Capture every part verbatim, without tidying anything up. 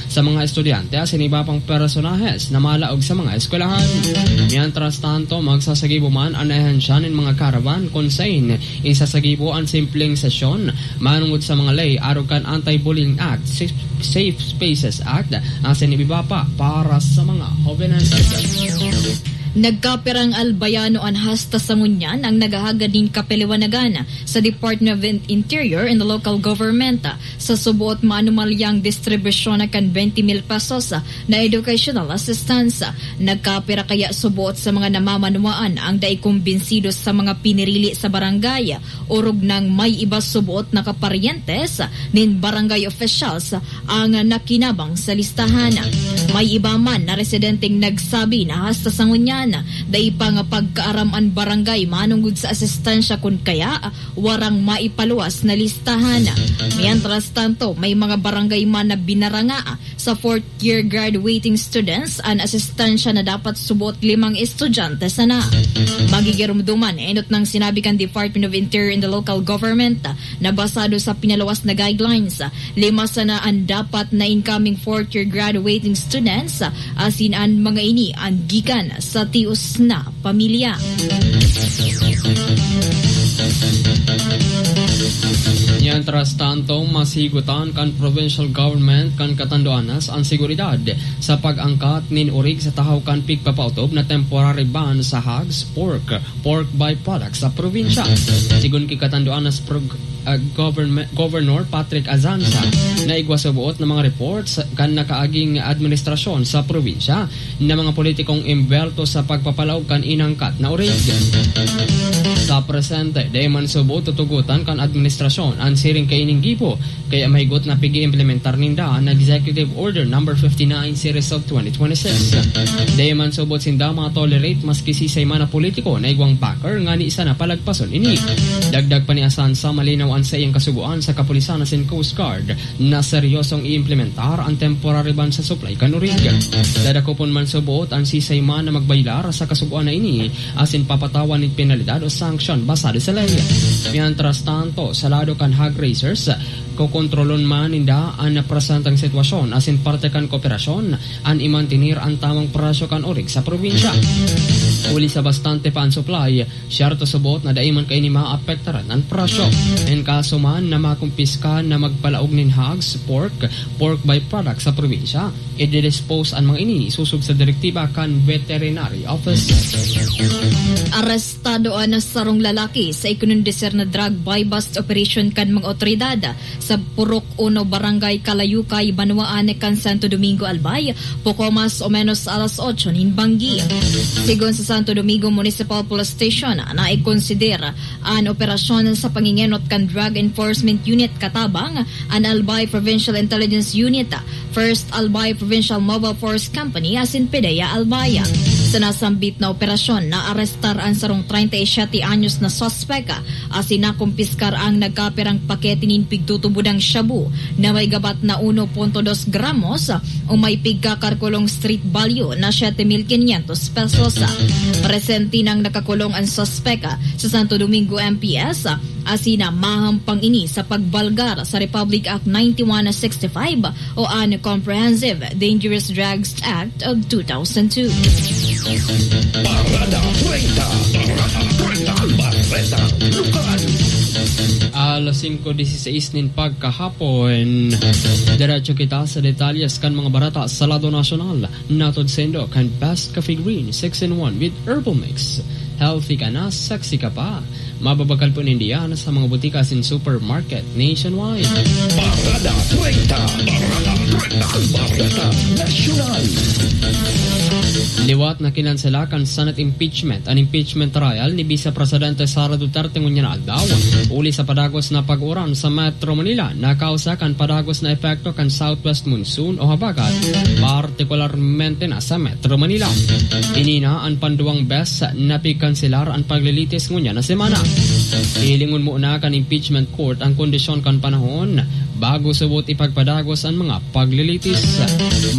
sa mga estudyante asin iba pang personahes na malaog sa mga eskwelahan. Mientras tanto, magsasagibo man an ahensya nin mga caravan kun sain isasagibo an simpleng sesyon manongod sa mga ley arog kan Anti-Bullying Act, Safe, Safe Spaces Act, asin iba pa para sa mga hobenes. Nagkapirang albayano an hasta sa ngunyan ang naghahagad nin kapaliwanagan sa Department of In-, Interior and the local government sa suboot maanomalyang distribusyon kan twenty mil pesos na educational assistance. Nagkapira kaya suboot sa mga namamanwaan ang dai kumbinsido sa mga pinirili sa barangay, orog nang may iba suboot na kaparyentes nin barangay officials ang nakinabang sa listahan. May iba man na residenteng nagsabi na hasta sa ngunyan, dai pa nga pagkaaram an barangay manongod sa asistensya kun kaya warang maipaluwas na listahan. Mientras tanto, may mga barangay man na binaranga sa fourth year graduating students an asistensya na dapat suboot limang estudyante sana. Magigirumduman, enot nang sinabi kan Department of Interior and the Local Government na basado sa pinaluwas na guidelines, lima sana an dapat na incoming fourth year graduating students, asin an mga ini an gikan sa tios na pamilya. Mientras tanto, mas higutan kan provincial government kan Catanduanes an seguridad sa pag-angkat nin orig sa tahaw kan pigpapaotob na temporary ban sa hogs, pork, pork byproducts sa probinsya. Sigon ki Catanduanes prog-, ah, government, Governor Patrick Azanza, naigwa sa buot na mga reports kan nakaaging administrasyon sa probinsya na mga politikong imbelto sa pagpapalaog kan inangkat na orig. Sa presente, dai man subo tutugotan kan administrasyon an siring kaining gibo, kaya mahigot na pig-iimplementar ninda an Executive Order Number fifty-nine Series of twenty twenty-six. Dai man subo sinda ma-tolerate maski sisay man na politiko na igwang backer ngani sana palagpason ini. Dagdag pa ni Azanza, malinaw an saiyang kasugoan sa kapulisan asin Coast Guard na seryosong iimplementar an temporary ban sa supply kan orig. Dadakopon man suboot an sisay man na magbaylar sa kasugoan na ini asin papatawan nin penalidad o sanksyon basado sa ley. Mientras tanto, sa lado kan hog raisers, kokontrolon man ninda an napresentang sitwasyon asin parte kan kooperasyon an imantener an tamang presyo kan orig sa probinsya. Huli sa bastante pa an supply, siyerto suboot na dai man kaini maapektaran an presyo. En kaso man na makumpiska na magpalaog nin hogs, pork, pork byproduct sa probinsya, i-dispose an mga ini sosog sa direktiba kan veterinary office. Arestado an sarong lalaki sa ikinonduser na drug buy-bust operation kan mga otoridad sa Purok Uno, Barangay Kalayukay, Banwaan kan Santo Domingo, Albay, poko mas o menos alas otso nin banggi. Sigon sa Santo Domingo Municipal Police Station, naikonsider an operasyon sa pangingenot kan Drug Enforcement Unit katabang an Albay Provincial Intelligence Unit, First Albay Provincial Mobile Force Company asin PDEA Albay. Sa nasambit na operasyon, naarestar an sarong treinta y siete anyos na suspek asin nakumpiskar ang nagkapirang pakete nin pigtutubodang shabu na may gabat na uno punto dos gramos o may pigkakarkulong street value na siete mil quinientos pesos. Presente nang nakakulong an suspek sa Santo Domingo M P S asin mahampang ini sa pagbalgar sa Republic Act ninety-one sixty-five o an Comprehensive Dangerous Drugs Act of two thousand two. Parada treinta. Parada treinta. Bareta Lokal. Alas singko dieciséis nin pagkahapon. Diretso kita sa detalyes kan mga bareta sa lado nasyonal. Natod saindo kan Best Coffee Green six in one with Herbal Mix. Healthy ka na, sexy ka pa. Mababakal po ninda yan sa mga butika asin supermarket nationwide. Parada treinta. Parada treinta. Bareta Nasyonal. Liwat na kinansela kan Senate impeachment an impeachment trial ni Vice Presidente Sara Duterte ngunyan na aldaw, huli sa padagos na pag-uran sa Metro Manila na kausa kan padagos na epekto kan southwest monsoon o habagat, partikularmente na sa Metro Manila. Ini na an panduwang bes na pigkanselar an paglilitis ngunyan na semana. Hilingon muna kan impeachment court ang kondisyon kan panahon bago subot ipagpadagos an mga paglilitis.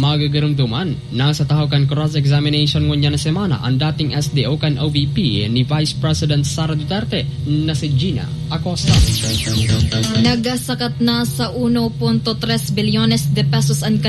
Magigiromdoman na sa tahaw kan cross-examination ngunyan na semana an dating S D O kan O V P ni Vice President Sara Duterte na si Gina Acosta. Nagsakat na sa uno punto tres bilyones de pesos an